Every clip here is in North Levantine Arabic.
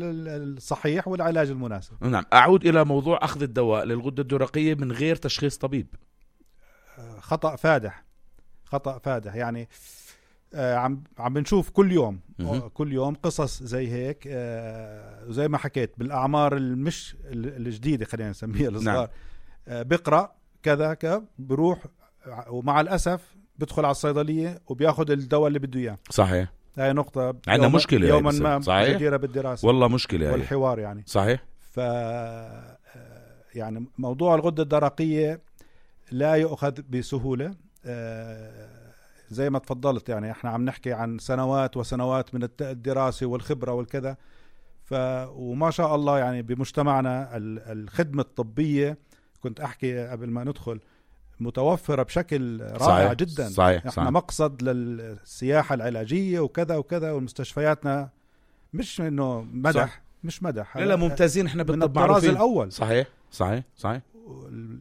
الصحيح والعلاج المناسب. نعم. أعود إلى موضوع أخذ الدواء للغدة الدرقية من غير تشخيص طبيب. خطأ فادح يعني. عم بنشوف كل يوم قصص زي هيك، زي ما حكيت بالأعمار المش الجديدة خلينا نسميها الصغار. نعم. بقرأ كذا بروح ومع الأسف بدخل على الصيدلية وبياخد الدواء اللي بده إياه. صحيح. هاي نقطة عندنا مشكلة يوما ما جديرة بالدراسة والله مشكلة والحوار يعني. صحيح. يعني موضوع الغدة الدرقية لا يؤخذ بسهولة. زي ما تفضلت يعني احنا عم نحكي عن سنوات وسنوات من الدراسة والخبرة والكذا. وما شاء الله يعني بمجتمعنا الخدمة الطبية كنت أحكي قبل ما ندخل متوفرة بشكل رائع. صحيح. جدا. صحيح. احنا مقصد للسياحة العلاجية وكذا وكذا، والمستشفياتنا مش انه مدح. صح. مش مدح، لا ممتازين احنا من الطراز الأول. صحيح.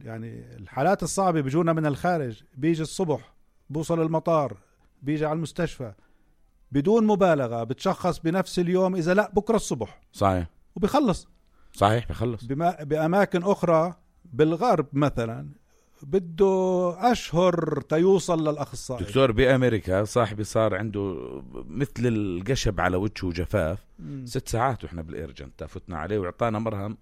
يعني الحالات الصعبة بيجونا من الخارج، بيجي الصبح بوصل المطار بيجي على المستشفى بدون مبالغة بتشخص بنفس اليوم، إذا لا بكرة الصبح. صحيح. وبيخلص. صحيح بيخلص. بأماكن أخرى بالغرب مثلا بده أشهر تيوصل للأخصائي. دكتور بأمريكا صاحبي صار عنده مثل القشب على وجهه وجفاف 6 ساعات وإحنا بالإيرجنت فتنا عليه وعطانا مرهم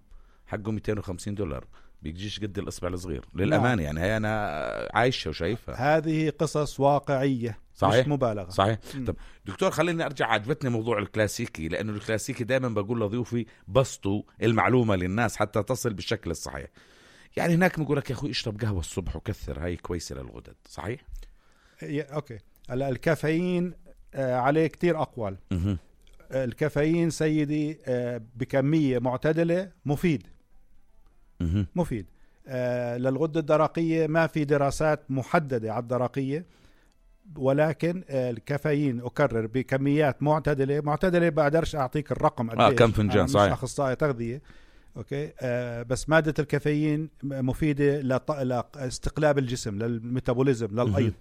حقه $250 بيجيش قد الإصبع الصغير للأمانة. يعني هي أنا عايشة وشايفها. هذه قصص واقعية. صحيح. مش مبالغة. صحيح. طب دكتور خليني أرجع، عجبتني موضوع الكلاسيكي، لأنه الكلاسيكي دائما بقول لضيوفي بسطوا المعلومة للناس حتى تصل بالشكل الصحيح. يعني هناك بقول لك يا أخوي اشرب قهوة الصبح وكثر، هاي كويسة للغدد. صحيح. أوكي. هلا الكافيين عليه كتير أقوال. الكافيين سيدي بكمية معتدلة مفيد. مفيد للغدة الدرقية. ما في دراسات محددة على الدرقية، ولكن الكافيين أكرر بكميات معتدلة بقدرش أعطيك الرقم قديش. كم فنجان. صحيح. مش أخصائي تغذية. أوكي. بس مادة الكافيين مفيدة لاستقلاب الجسم، للميتابوليزم، للأيض.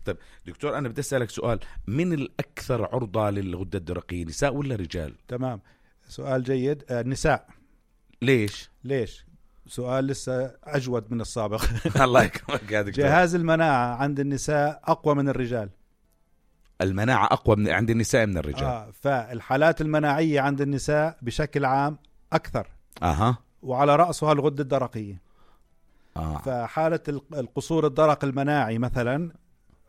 طيب دكتور أنا بدي أسألك سؤال، من الأكثر عرضة للغدة الدرقية، نساء ولا رجال؟ تمام، سؤال جيد. النساء. ليش؟ سؤال لسه أجود من السابق. الله يكرمك يا دكتور. جهاز المناعة عند النساء أقوى من الرجال. المناعة أقوى عند النساء من الرجال. فالحالات المناعية عند النساء بشكل عام أكثر. وعلى رأسها الغدة الدرقية. فحالة القصور الدرق المناعي مثلا،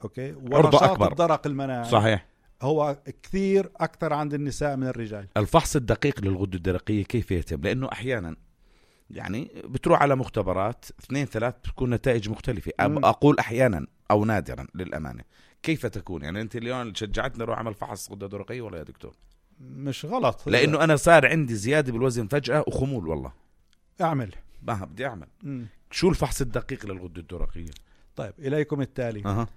أوكي، ونشاط الدرق المناعي. صحيح. هو كثير أكثر عند النساء من الرجال. الفحص الدقيق للغدة الدرقية كيف يتم؟ لأنه أحيانا يعني بتروح على مختبرات 2-3 بتكون نتائج مختلفة. أقول أحيانا أو نادرا للأمانة. كيف تكون؟ يعني أنت اليوم شجعتني أروح أعمل فحص غدة درقية ولا يا دكتور؟ مش غلط، لأنه أنا صار عندي زيادة بالوزن فجأة وخمول. والله أعمل بدي أعمل. شو الفحص الدقيق للغدة الدرقية؟ طيب إليكم التالي.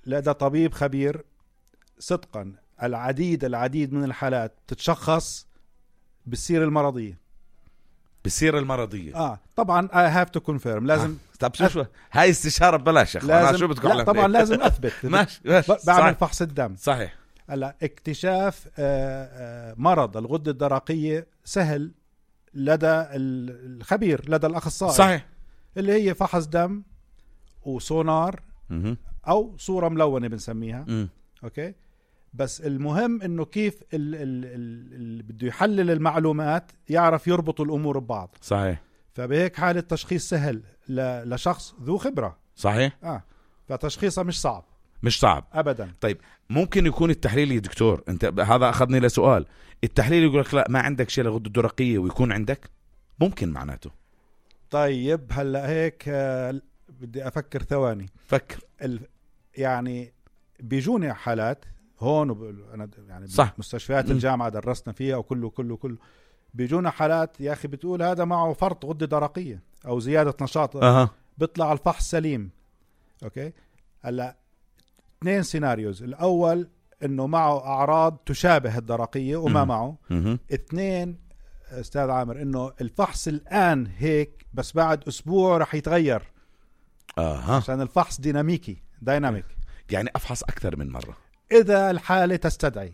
لدى طبيب خبير صدقا العديد من الحالات تتشخص بالسيرة المرضية. طبعا I have to confirm. لازم طب شو هاي استشارة ببلاش يا شو بتقول؟ لا طبعا لازم أثبت. ماشي. بعمل فحص الدم. صحيح. هلا اكتشاف مرض الغدة الدرقية سهل لدى الخبير، لدى الأخصائي. صحيح. اللي هي فحص دم وسونار أو صورة ملونة بنسميها. أوكي. بس المهم إنه كيف اللي بده يحلل المعلومات يعرف يربط الأمور ببعض. صحيح. فبهيك حالة تشخيص سهل لشخص ذو خبرة. صحيح. فتشخيصه مش صعب أبدا. طيب ممكن يكون التحليل يا دكتور، أنت هذا أخذني لسؤال، التحليل يقول لك لا ما عندك شيء لغدة درقية ويكون عندك، ممكن معناته. طيب هلأ هيك بدي أفكر ثواني. فكر. يعني بيجوني حالات هون أنا يعني صح. مستشفيات الجامعة درسنا فيها وكله بيجونا حالات يا أخي بتقول هذا معه فرط غدة درقية أو زيادة نشاط. بيطلع الفحص سليم. أوكي. هلا 2 سيناريوز. الأول إنه معه أعراض تشابه الدرقية وما معه. 2 أستاذ عامر إنه الفحص الآن هيك بس بعد أسبوع رح يتغير. عشان الفحص دايناميك. يعني أفحص أكثر من مرة إذا الحالة تستدعي.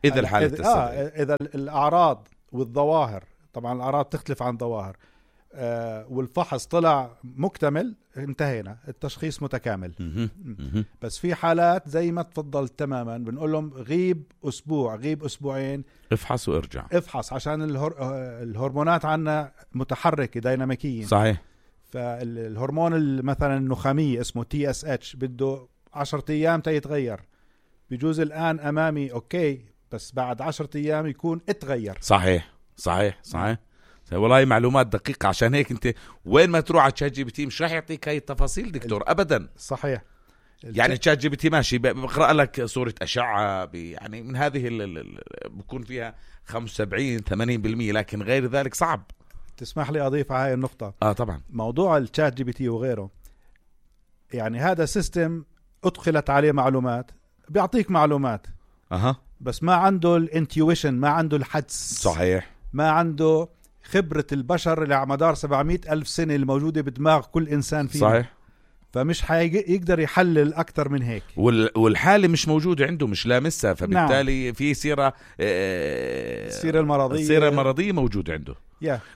إذا الحالة تستدعي. إذا الأعراض والظواهر، طبعا الأعراض تختلف عن الظواهر، والفحص طلع مكتمل، انتهينا، التشخيص متكامل. بس في حالات زي ما تفضلت تماما بنقول لهم غيب أسبوع، غيب أسبوعين، افحص وارجع. افحص عشان الهرمونات عنا متحركة ديناميكية. صحيح. فالهرمون مثلا النخامية اسمه TSH بده 10 أيام تيتغير، بيجوز الآن أمامي أوكي، بس بعد 10 أيام يكون اتغير. صحيح صحيح صحيح. والله معلومات دقيقة، عشان هيك انت وين ما تروح على ChatGPT مش راح يعطيك هاي التفاصيل دكتور ابدا. صحيح. يعني ChatGPT ماشي بقرأ لك صورة أشعة يعني من هذه بكون فيها 75-80%، لكن غير ذلك صعب. تسمح لي أضيف على هاي النقطة؟ طبعا. موضوع ChatGPT وغيره، يعني هذا سيستم أدخلت عليه معلومات، بيعطيك معلومات بس ما عنده الانتيويشن، ما عنده الحدس. صحيح. ما عنده خبرة البشر اللي على مدار 700,000 سنة الموجودة بدماغ كل إنسان فينا. صحيح. فمش يقدر يحلل أكتر من هيك، والحالة مش موجودة عنده، مش لامسها، فبالتالي نعم. في سيرة السيرة المرضية موجودة عنده.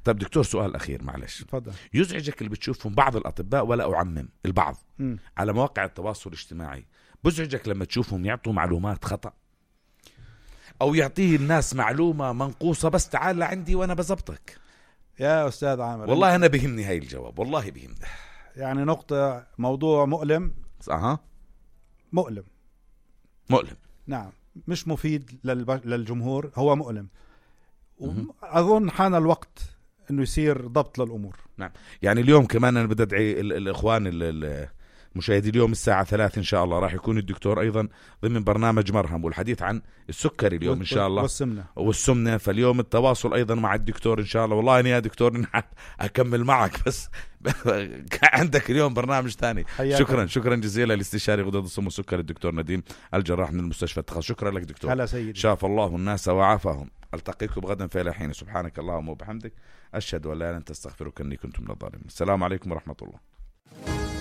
طب دكتور سؤال أخير معلش. تفضل. يزعجك اللي بتشوفهم بعض الأطباء، ولا أعمم، البعض على مواقع التواصل الاجتماعي، بزعجك لما تشوفهم يعطوا معلومات خطأ، أو يعطيه الناس معلومة منقوصة بس تعال لعندي وأنا بزبطك؟ يا أستاذ عامر، والله أنا بهمني هاي الجواب، والله بهمني. يعني نقطة، موضوع مؤلم. مؤلم. نعم، مش مفيد للجمهور، هو مؤلم. وأظن حان الوقت إنه يصير ضبط للأمور. نعم. يعني اليوم كمان أنا بدي أدعي الإخوان مشاهدي اليوم الساعة 3 إن شاء الله راح يكون الدكتور أيضا ضمن برنامج مرهم، والحديث عن السكري اليوم إن شاء الله والسمنة. فاليوم التواصل أيضا مع الدكتور إن شاء الله. والله أنا يا دكتور أكمل معك، بس عندك اليوم برنامج ثاني. شكرا جزيلا لاستشاري غدد السم والسكر الدكتور نديم الجراح من المستشفى التخصص. شكرا لك دكتور. هلا سيدي. شاف الله الناس وعافاهم. ألتقيكم غدا في الحين. سبحانك اللهم وبحمدك، أشهد أن لا إله إلا أنت، أستغفرك إني كنت من الظالمين. السلام عليكم ورحمة الله.